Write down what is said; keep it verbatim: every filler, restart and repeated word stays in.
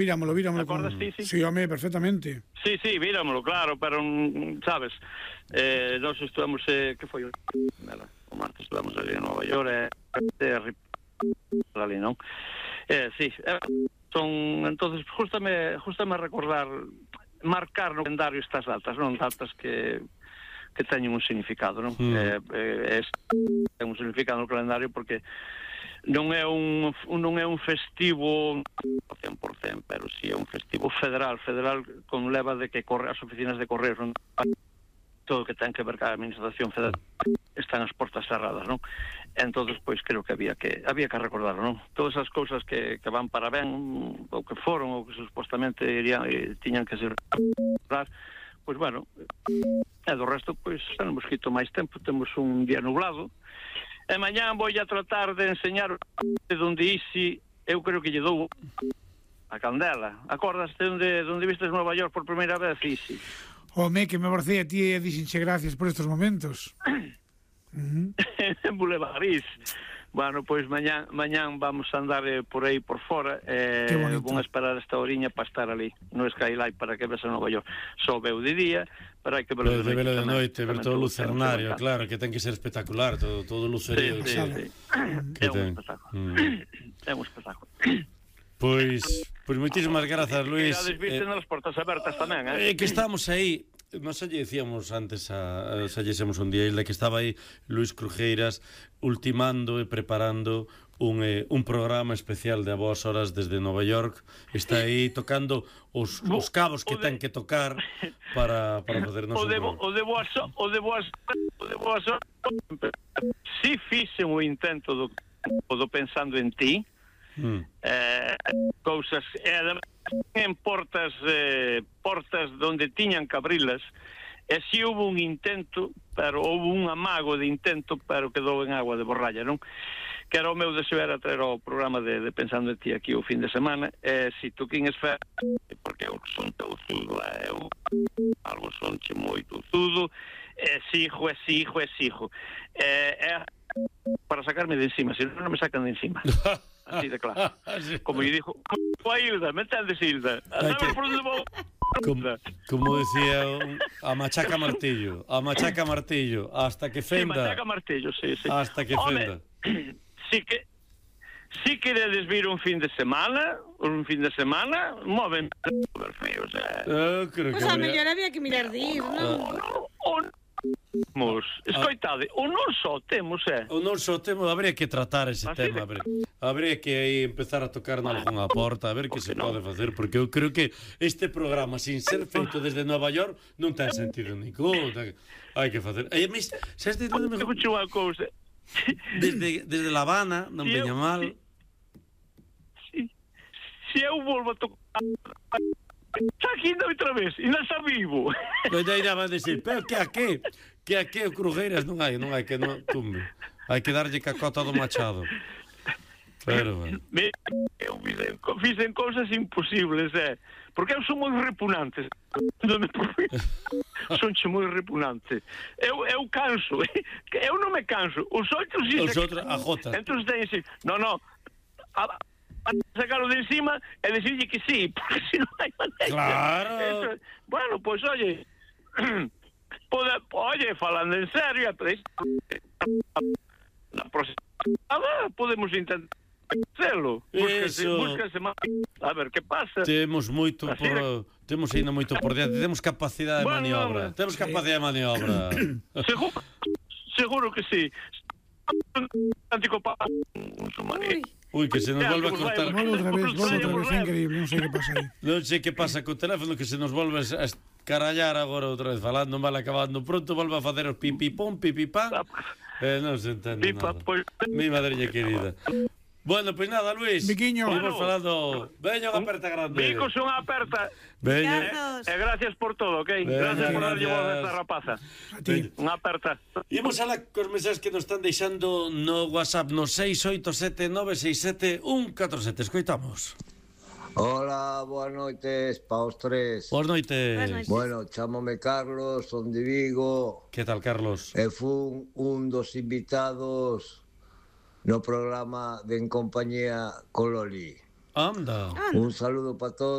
Víramolo, víramolo. Acordas con... ti, sí? Sí, home, perfectamente. Sí, sí, víramolo, claro, pero, sabes, eh, nós estuvamos, eh, que foi? Nada, o martes estuvamos ali en Nova York, e eh, eh, ali, non? Eh, sí, eh, son, entonces, justame, justame recordar, marcar no calendario estas datas, non? Datas que... que teñen un significado, non? Mm. Eh, eh, ten un significado no calendario porque non é un non é un festivo cen por cento, pero si sí é un festivo federal, federal con leva de que corre as oficinas de correos, non? Todo o que ten que ver ca administración federal están as portas cerradas, non? Entonces, pois, creo que había que había que recordarlo, non? Todas as cousas que, que van para ben, ou que foron, ou que supostamente irían, e tiñan que ser pois, bueno, e do resto, pois, non hemos quito máis tempo, temos un día nublado, e mañán vou a tratar de enseñar de onde isi, eu creo que lle dou a candela. Acordaste onde, onde vistes Nova York por primeira vez, Isi? Home, que me abracei a ti e dixenche gracias por estos momentos. Uh-huh. En Boulevardís. Bueno, pois mañán, mañán vamos a andar eh, por aí por fora, eh, vamos a esperar esta horiña para estar ali no Skylight para que ves a Nova York. Só veu de día, pero hai que verlo de noite. Velo de noite, ver todo o lucernario, claro, que ten que ser espectacular, todo, todo o lucerío. Sí, sí, sí. É un espectáculo. Mm. É un espectáculo. Pois, pois moitísimas grazas, Luis. E viste nas portas abertas tamén, eh? É que estamos aí. Nos xa lle dicíamos antes a, a xa lle xemos un día de que estaba aí Luis Crujeiras ultimando e preparando un, eh, un programa especial de A Boas Horas desde Nova York. Está aí tocando os, os cabos que ten que tocar para, para facernos un programa. O de boas o de boas o de boas si fixen o intento do, do pensando en ti, mm. eh, cousas e además en portas eh, portas donde tiñan que abrilas, e si houve un intento, pero houve un amago de intento, pero quedou en agua de borralla, non? Que era o meu deseo, era traer o programa de, de Pensando en Ti aquí o fin de semana, e si tú quines fe, porque eu son teuzudo, eu algo sonche moito zudo, e sijo, e sijo, e sijo, e, e para sacarme de encima, se non me sacan de encima. Así de claro. Como lle dijo, como a Hilda, me entendes, Hilda? Que... Como, como decía a machaca martillo, a machaca martillo, hasta que fenda. Sí, machaca martillo, sí, sí. Hasta que fenda. Home, sí que si queredes vir un fin de semana, un fin de semana, moven super feos, eh. Eu creo que pues a mellor había que mirar de ir, non? O Mos, escoitade, o non só temos, eh? O non só temos, habría que tratar ese Así tema, habría, habría que aí empezar a tocar nalgunha porta, a ver que se no? pode facer, porque eu creo que este programa, sin ser feito desde Nova York, non ten sentido ningún, hai que facer. E mis, xa este todo me escucho unha cousa. Desde desde La Habana, non si veña eu, mal. Si, si, si eu volvo a tocar está aquí outra vez, e non está vivo. Pois aí van a decir, pero que a que? Que a que o Crujeiras non hai, non hai que non tumbe. Hai que darlle cacota do machado. Pero, bueno. Me, eu fixen cousas imposibles, eh? Porque eu son moi repugnante. Son moi repugnante. Eu, eu canso, eh? Eu non me canso. Os outros sí. Os outros, a jota. Entón ten así, no, no, a, a sacarlo de encima e decirle que sí, porque si non hai maneira. Claro. Eso, bueno, pois, pues, oye, pode, oye, falando en serio, na próxima podemos intentar facelo. Búscase, búscase máis. A ver, que pasa? Temos moito por... De... Temos ainda moito por diante. Temos capacidade de bueno, maniobra. Temos capacidade de maniobra. Seguro, seguro que sí. Anticopa... Uy. Uy, que se nos volve a cortar. Volve outra vez, volve outra vez, é increíble, non sei que pasa aí. Non sei que pasa co teléfono, que se nos volve a escarallar agora outra vez, falando mal, acabando pronto, volve a facer os pipipón, pipipán. Eh, non se entende nada. Mi madriña querida. Bueno, pois pues nada, Luis. Biquiño. Vamos falando. Veña unha aperta grande. Bicos unha aperta. Veña. E eh, gracias por todo, ok? Veña, gracias por darlle voz a esta rapaza. A ti. Unha aperta. Imos alá cos mensaxes que nos están deixando no WhatsApp no seis oito sete nove seis sete un catro sete. Escoitamos. Hola, boas noites pa os tres. Boas noites. Bueno, chámome Carlos, son de Vigo. Que tal, Carlos? E fun un dos invitados no programa de En Compañía con Loli. Anda. Anda. Un saludo para todos.